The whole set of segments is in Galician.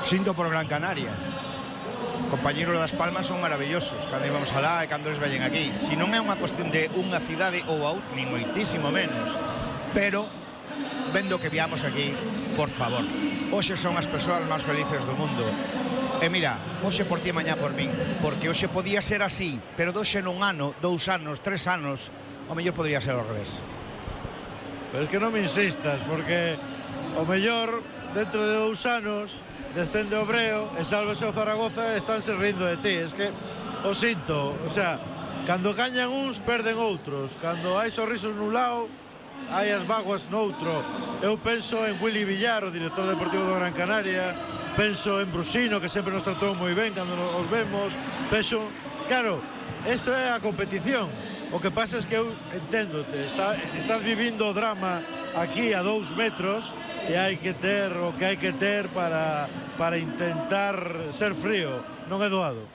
Sinto por Gran Canaria. Compañeros das Palmas son maravillosos cando íbamos alá e cando eles veñen aquí. Si non é unha cuestión de unha cidade ou a outra, nin moitísimo menos, pero vendo que viamos aquí, por favor, hoxe son as persoas máis felices do mundo. E mira, hoxe por ti e mañá por min, porque hoxe podía ser así, pero hoxe nun ano, 2 anos, 3 anos, ao mellor podría ser ao revés. Pero é que non me insistas, porque ao mellor dentro de 2 anos descende o Breo e sálvese o Zaragoza e estánse rindo de ti. Es que o sinto, o sea, cando gañan uns perden outros, cando hai sorrisos nun lado hai as vaguas noutro. Eu penso en Willy Villar, o director deportivo do Gran Canaria, penso en Brusino, que sempre nos tratou moi ben cando nos vemos, penso, claro, isto é a competición. O que pasa es que eu enténdote, estás vivindo o drama aquí a 2 metros e hai que ter o que hai que ter para intentar ser frío, non é doado.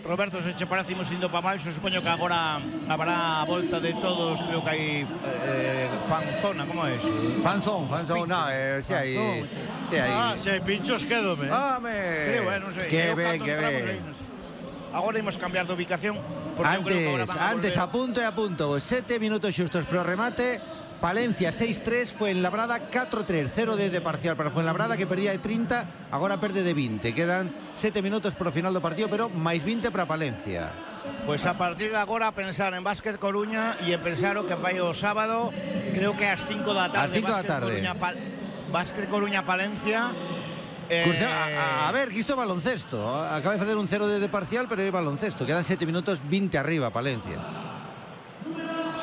Roberto, se che parece imos indo para baixo, supoño que agora habrá a volta de todos, creo que hai fanzona, como é iso? Fanzón, no, si hai... Se hai pinchos, quédome. ¡Home! Creo, non sei. Que ben. Agora imos cambiar de ubicación. Antes, a punto, 7 minutos xustos pro remate. Palencia 6-3, Fuenlabrada 4-3, 0 de parcial para Fuenlabrada, que perdía de 30, agora perde de 20. Quedan 7 minutos pro final do partido, pero máis 20 para Palencia. Pois a partir de agora pensar en Básquet Coruña e en pensar o que vai o sábado, creo que ás 5 da tarde. Ás 5 da tarde. Básquet Coruña Palencia. A ver, que isto é baloncesto. Acaba de facer un 0 de parcial, pero é baloncesto. Quedan 7 minutos 20 arriba Palencia.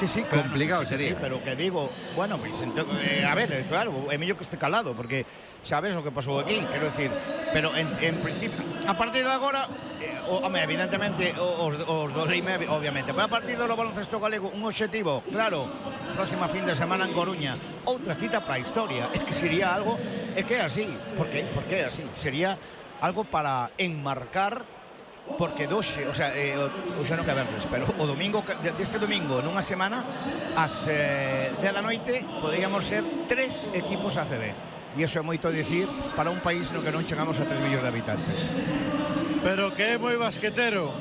Sí, claro, complicado sería. Sí, pero que digo, bueno, pues, a ver, claro, é mellor que este calado, porque sabes o que pasou aquí, quero decir, pero en principio, a partir de agora, evidentemente, os do Leime, obviamente, pero a partir do baloncesto galego, un obxectivo, claro, próxima fin de semana en Coruña, outra cita para a historia, é que sería algo, é que é así, porque é así, sería algo para enmarcar. Porque doxe, o sea, hoxe non que verles, pero o domingo, deste domingo, nunha semana, ás 10 da noite, poderíamos ser 3 equipos ACB. E iso é moito a dicir para un país no que non chegamos a 3 millóns de habitantes. Pero que é moi basquetero.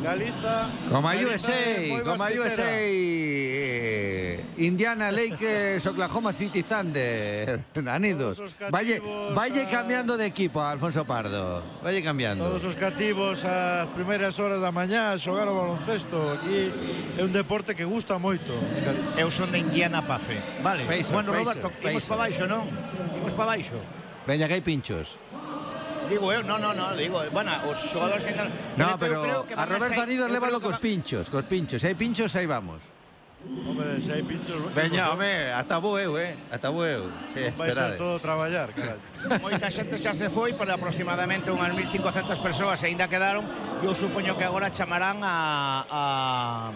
Galiza... Como a USA, Indiana Lakers, Oklahoma City Thunder, anidos. Valle cambiando de equipo, Alfonso Pardo. Valle cambiando. Todos os cativos ás primeiras horas da mañá xogar o baloncesto. Aquí é un deporte que gusta moito. Eu son de Indiana Pafe. Vale, bueno, Roberto, imos para baixo, non? Imos para baixo. Veña, que hai pinchos. Digo eu, non, digo, bueno, os xogadores entran... No, pero a Roberto Anidos lévalo cos pinchos. Se hai pinchos, aí vamos. Hombre, se hai pinchos... Veña, home, ata vou eu, ata vou eu. Vai ser todo traballar, caralho. Moita xente xa se foi, pero aproximadamente unhas 1.500 persoas ainda quedaron. Eu supoño que agora chamarán a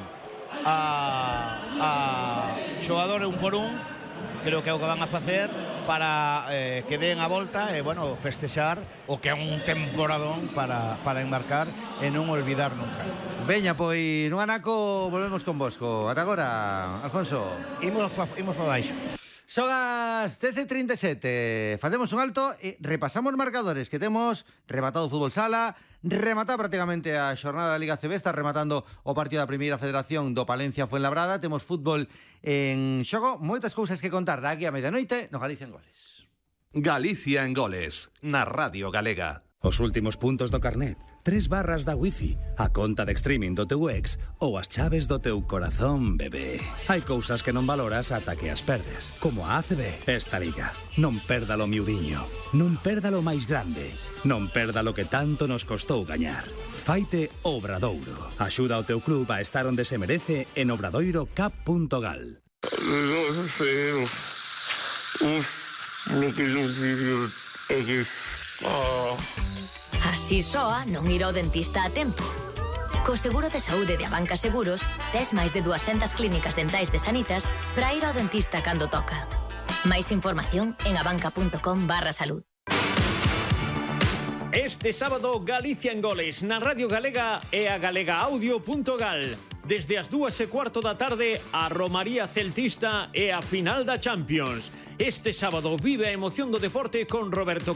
xogador un por un. Creo que é o que van a facer para que den a volta e, bueno, festexar o que é un temporadón para enmarcar e non olvidar nunca. Veña, pois, no anaco volvemos con Bosco. Ata agora, Alfonso. Imos para baixo. Son as 10:37. Facemos un alto e repasamos marcadores que temos rematado o fútbol sala, remata prácticamente a xornada da Liga CB, está rematando o partido da Primeira Federación do Palencia Fuenlabrada, temos fútbol en xogo, moitas cousas que contar da aquí a medianoite no Galicia en Goles. Galicia en Goles, na Radio Galega. Os últimos puntos do carnet, 3 barras da wifi, a conta de streaming do teu ex ou as chaves do teu corazón, bebé. Hai cousas que non valoras ata que as perdes, como a ACB. Esta liga, non perdalo miudiño, non perdalo máis grande, non perdalo que tanto nos costou gañar. Faite Obradoiro. Axuda ao teu club a estar onde se merece en obradoirocap.gal. Non sei, lo que non sei é que... Así soa non ir ao dentista a tempo. Co seguro de saúde de Abanca Seguros, tes máis de 200 clínicas dentais de Sanitas para ir ao dentista cando toca. Máis información en abanca.com/salud. Este sábado, Galicia en Goles, na Radio Galega e a galegaaudio.gal. Desde as 2:15 da tarde, a Romaría Celtista e a final da Champions. Este sábado vive a emoción do deporte con Roberto